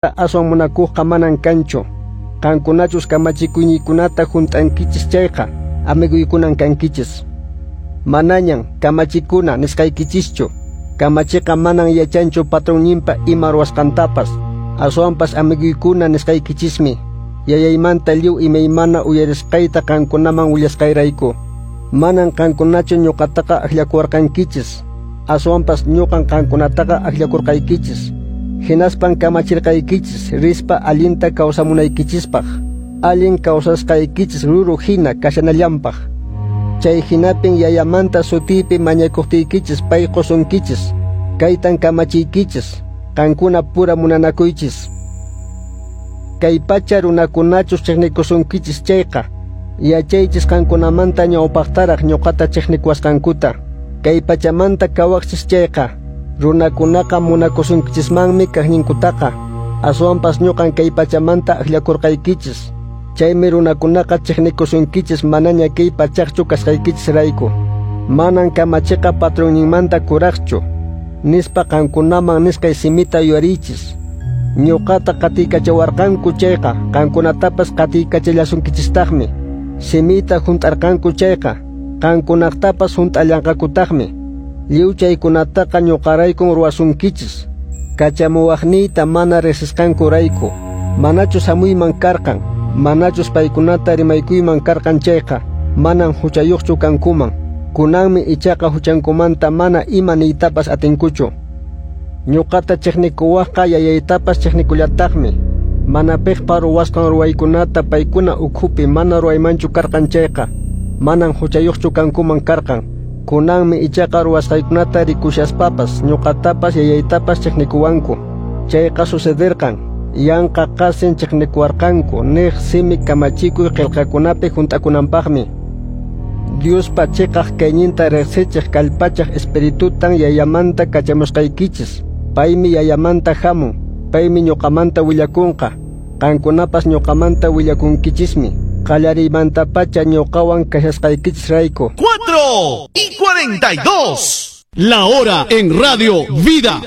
Aswan munakuqqa manan kanchu. Qankunachus kamachikuyniykunata hunt'ankichis chayqa, amiguykunan kankichis. Manañan kamachikuna nisqaykichischu. Kamachiqa manan yachanchu patronninpa ima ruwasqantapas. Aswanpas amiguykuna nisqaykichismi. Yayaymanta lliw imaymana uyarisqayta qankunaman willasqayrayku. Manan qankunachu ñuqataqa akllakuwarqankichis. Aswanpas ñuqan qankunataqa akllakurqaykichis. Hinaspan kamachirqaykichis rispa allinta kawsamunaykichispaq, allin kawsasqaykichis ruru hina kashanallanpaq. Chay hinapin yayamanta sutiypi mañakuqtiykichis pay qusunkichis. Kaytan kamachiykichis, qankuna pura munanakuychis. Kay pacha runakunachus chiqnikusunkichis chayqa, yachaychis qankunamanta ñawpaqtaraq ñuqata chiqnikuwasqankuta. Kay pachamanta kawaqchis chayqa, runakunaqa munakusunkichismanmi kaqninkutaqa. Aswanpas ñuqan kay pachamanta akllakurqaykichis. Chaymi runakunaqa chiqnikusunkichis manaña kay pachaqchu kasqaykichisrayku. Manan kamachiqa patronninmanta kuraqchu, nispa qankunaman nisqay simita yuyariychis. Ñuqata qatiykachawarqanku chayqa, qankunatapas qatiykachallasunkichistaqmi. Simiyta hunt'arqanku chayqa, qankunaqtapas hunt'allanqakutaqmi. Lliw chaykunataqa ñuqaraykun ruwasunkichis. Kachamuwaqniyta mana riqsisqankurayku. Manachus hamuyman karqan, manachus paykunata rimaykuyman karqan chayqa, manan huchayuqchu kankuman. Kunanmi ichaqa huchankumanta mana ima niytapas atinkuchu. Ñuqata chiqnikuwaqqa yayaytapas chiqnikullataqmi. Mana piqpa ruwasqan ruwaykunata paykuna ukhupi mana ruwaymanchu karqan chayqa, manan huchayuqchu kankuman karqan. Kunanmi ichaqa ruwasqaykunata rikushaspapas ñuqatapas yayaytapas chiqnikuwanku. Chayqa sucederqan, yanqa qasin chiqnikuwarqanku niq simi kamachikuy qillqakunapi hunt'akunanpaqmi. Diospa chiqaq kayninta riqsichiq kallpachaq espiritutan yayamanta kachamusqaykichis. Paymi yayamanta hamun, paymi ñuqamanta willakunqa. Qankunapas ñuqamanta willakunkichismi. Qallariymantapacha ñuqawan kashasqaykichisrayku. 4:42. La hora en Radio Vida.